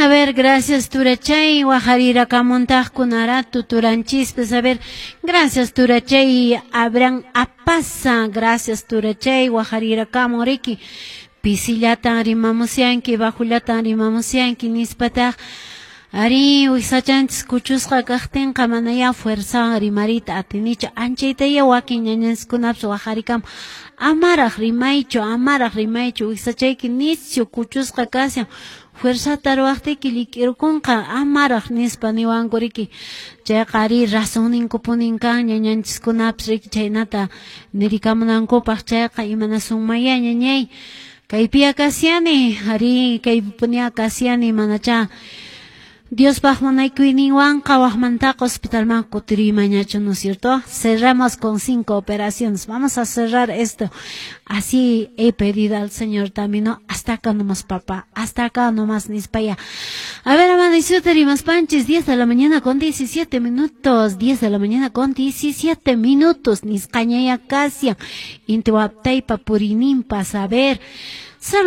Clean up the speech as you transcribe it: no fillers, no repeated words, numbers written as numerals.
A ver, gracias Turachay, wajarirakamuntaqkunaratu turanchispis, a ver, gracias Turachay, Abraham Apaza, gracias Turachay, wajarirakamun riki, pisillatan rimamusyanki, bajullatan rimamusyanki, nispataq, ari wiksachanchis kuchusqa kaqtinqa manaya fuerzawan rimariyta atinichu, anchaytaya wakin ñañanchiskunapis wajarikamun, amaraq rimaychu, amaraq rimaychu, wiksachayki nisyu kuchusqa kashan, fuerzata ruwaqtiyki llik'irukunqa, amaraq nispa niwanku riki, chayqa ari razonninkupunin kan ñañanchiskunapis riki chhaynata nirikamunankupaq, chayqa imanasunmaya ñañay, kaypiya kashani, ari kaypipunia kashani, manachá Diospaq munaykuyninwanqa waqmantaqa hospitalman kutiriymanñachu, ¿no es cierto? Cerramos con 5 operaciones. Vamos a cerrar esto. Así he pedido al Señor también, ¿no? Hasta acá nomás, papá. Hasta acá nomás, nispaya. A ver, amaneció Panches, 10 de la mañana con 17 minutos. 10 de la mañana con 17 minutos. Nisqañaya kashan. Intiwaptaypa purinimpa, a ver.